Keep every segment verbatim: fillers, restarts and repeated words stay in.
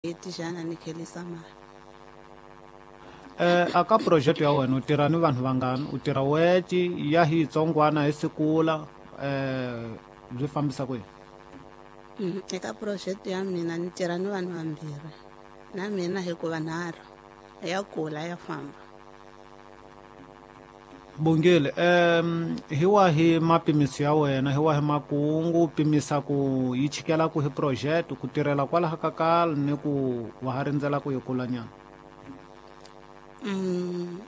Tijana ni khelisa mali. Eh aka project ya wena u tirha ni vanhu vangani, u tirha weci ya hi tsongwana hi sikula eh byi fambisa ku yini? Mm, eka project ya mina ni tirha ni vanhu vambirhi na mina hikuva nharhu ya kula ya famba. Bongile, em hi wahi mapimiso ya wena, hi wahi makungu pimisa ku yi chikela ku hi project ku tirhela kwalaha ka kala ni ku wa ha rindzela ku yi kula nyana? Mm,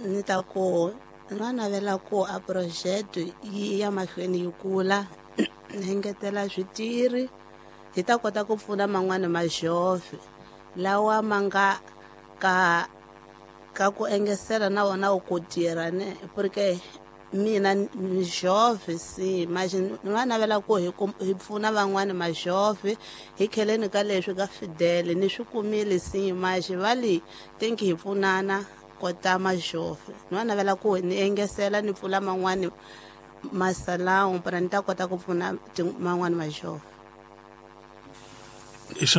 ni ta ku na navela ku a project yi ya mahlweni yi kula, ni engetela switirhi hi ta kota ku pfuna man'wana majove lawa ma nga ka ka ku engesela na wona ku tirha ne porque mina ni jove si manje ni va navela ku hi hi pfuna van'wana majove hi kheleni ka leswi ka Fidel ni swi kumile si manje va li thank hi pfunana kota majove ni va navela ku ni engesela ni pfula man'wana masalão para ni ta kota ku pfuna man'wana majove.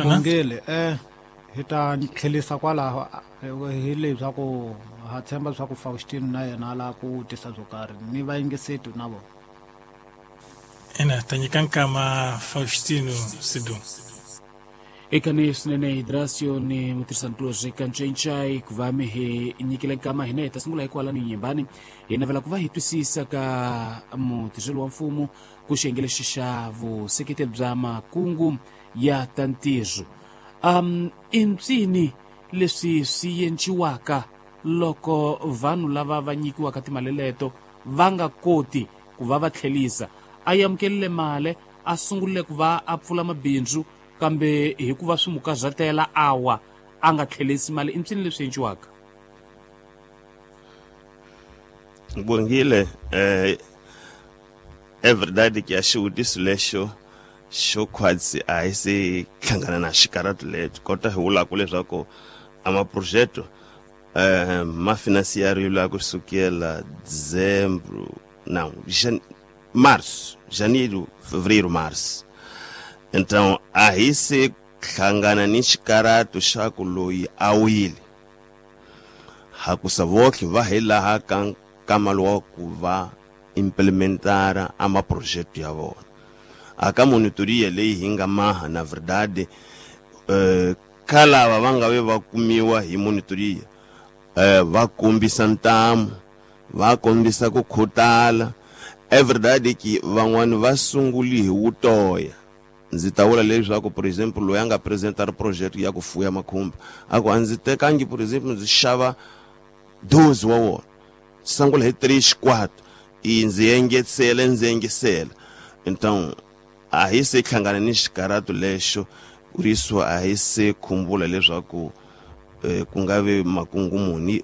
Bongile, eh hi ta tlhelisa kwalaho hi leswaku ha tshemba leswaku Faustino na yena la ku tisa byo karhi ni vayingiseti na vona. Ina ta nyika nkama Faustino Sidu. Eka ni swinene Hidrasio ni mutirhisankulorhi ka Ncencai ku va mi hi nyikile nkama hina hi ta sungula hikwalano nyimbani hi navela ku va hi twisisa ka mutirheli wa mfumo ku xiyenge lexi xa vuseketeri bya makungu ya ta ntirho. Um i mpsini leswi swi endliwaka loko vanhu lava va nyikiwaka timali leto va nga koti ku va va tlhelisa? A amukelile mali a sungurile ku va a pfula mabindzu kambe hikuva swi mu karhatela awa a nga tlhelisi mali, i mpsini leswi endliwaka? Bongile, eh everyday ke ya xivutiso lexo xo khwatsi a hi se hlangana na xikaratu lexi kota hi vulaka leswaku a maprojeto eh ma financiariwa kusukela dezembro, não, jan, março, janeiro, fevereiro, março. Então a hi se hlangana ni xikaratu xa ku loyi a wile hakusa votlhe va hi laha ka nkama lowa ku va implementara a maprojeto ya vona. Aka monitoria leyi hi nga maha na verdade eh ka lava va nga ve va kumiwa hi monitoria eh va kombisa ntamu, va kombisa ku khutala. Everyday ki van'wani va sunguli hi wutoya. Ndzi ta vula leswaku por exemple loyi a nga presentar project ya ku fuya makhumba a ku a ndzi tekangi por exemple ndzi xava doze wa wona sungula hi three xikwatu i ndzi engetela ndzi engesela. Então a hi se hlangana ni xikaratu lexo riso a hi se khumbula leswaku eh, ku nga ve makungu muni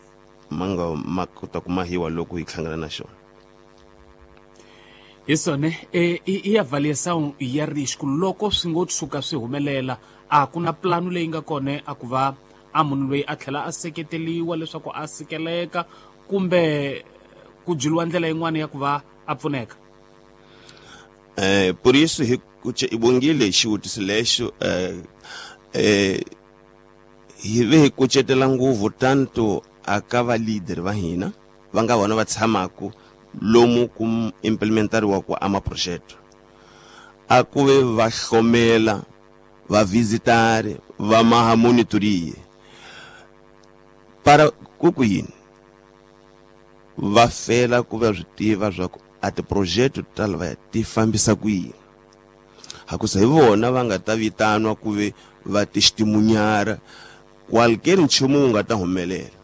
ma nga ma kota ku mahiwa loko hi hlangana na xona. Hi swona e i avaliação ya risco loko swi ngo tshuka swi humelela a ku na plano leyi nga kona a ku va a munhu loyi a tlhela a seketeliwa leswaku a sikeleka kumbe ku byeliwa ndlela yin'wana ya ku va a pfuneka? Eh por isso hi Bongile xivutiso lexo eh eh hi ve hi kucetela ngopfu tanto aka va leader va hina va nga vona va tshamaka lomu ku implementariwa ku ama projeto a ku ve va hlomela va visitare va maha monitorie para ku ku yini va fela ku va swi tiva swa ku a tiprojeto ta lava ti fambisa ku yini hakusa hi vona va nga ta vitanwa ku ve va testimunhara qualquer nchumu wu nga ta humelela.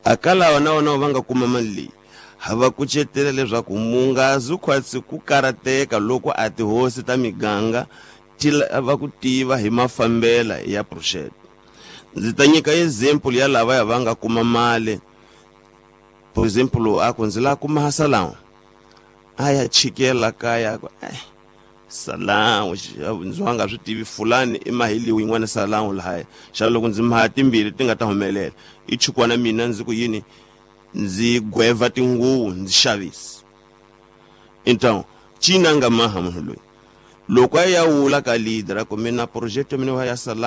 Aka lava na vona va nga kuma mali leyi ha va kucetela leswaku mungazi khwatsi ku karateka loko a tihosi ta miganga ti lava ku tiva hi mafambela ya project. Ndzi ta nyika example ya lava ya va nga kuma mali. Por exemplo, a ku ndzi lava ku maha salão a ya chikela kaya ku eh salão ndzi wa nga swi tivi fulani i maheliwi yin'wana salão lahaya xa loko ndzi maha timbirhi ti nga ta humelela i chukwana mina ndzi ku yini ndzi gweva tinguvu ndzi xavisa. Então cina nga maha munhu loyi Loko a ya wula ka leader ku mina project ya mina ya Salam.